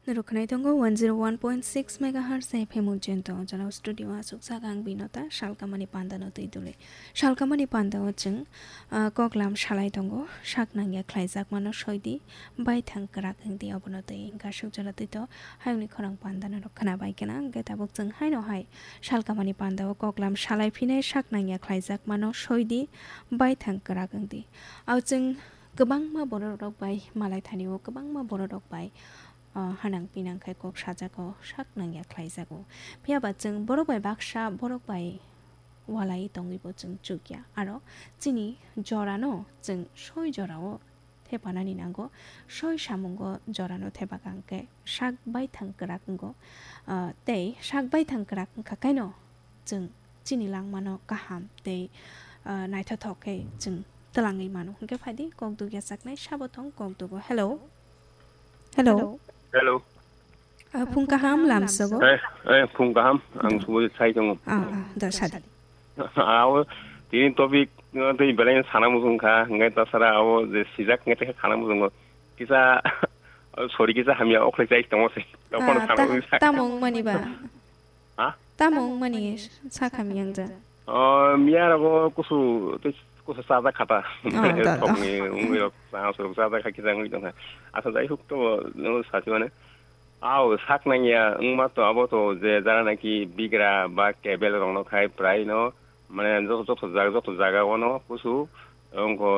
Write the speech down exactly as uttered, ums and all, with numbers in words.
Rwkhnai tongo one zero one point six megahertz F M Ujjain to, jora studio aswk sak ang Binota, salkamani panda no twi duli. Salkamani panda o chwng, ah, koklam salai tongo, sak nangya khlaijak mano soidi, baithang kwrak wngdi obono twi, hwnkha swk jora twi to, hayungni khorang panda no rwkhna bai kena, hwnkhe tabuk chwng haino hai salkamani panda o koklam salai phinai sak nangya khlaijak mano soidi, baithang kwrak wngdi. Ao chwng kwbangma borok rok bai malai thani o, kwbangma borok rok bai ah, hanang pinang khai kok sajago, sak nangya khlaijago. Phiya ba chwng borok bai baksa, borok bai walai tongwi bo chwng chukya. Aro chini jorano chwng soi jorao thepanani nango, soi samungo jorano thepakha hwnkhe sak baithang kwrak wngo. Ah, tei sak baithang kwrak wngkha kaino chwng chini langmano kaham tei, ah, naithothok khe chwng twlangwi mano. Hwnkhe phaidi kok dugya chaknai sabo thong kok dugo. Hello. Hello. Hello. Ah, phung kaham lamsogo. Eh, eh, phung kaham. Ang Subodhi sai tongo. Ah, ah, da sadi. Abo tini topic, uh, tei belai sana muchung kha. Hwnkhe tasara abo je sijak hwnkhe tei khana muchungo. Kisa, sorry, kisa hamya okhlai chai tongo se. Tokon Ah, sana ta-, muchung kha. Tamo wngmani ba? Ha? Tamo wngmani sakha miyang ja. Oh, miya rogo kusu, tei kusu chajak kha ta. Oh, da, da. Thokni wngwi rok, chajak kha kisa wngwi tongkha. Asa jai huk to, no, sasi mane. Ao, sak nangya wngma to abo to je jara naki bigra ba kebel rokno khai prai no, mane joto, joto jaga, joto jaga o no kusu, wngkho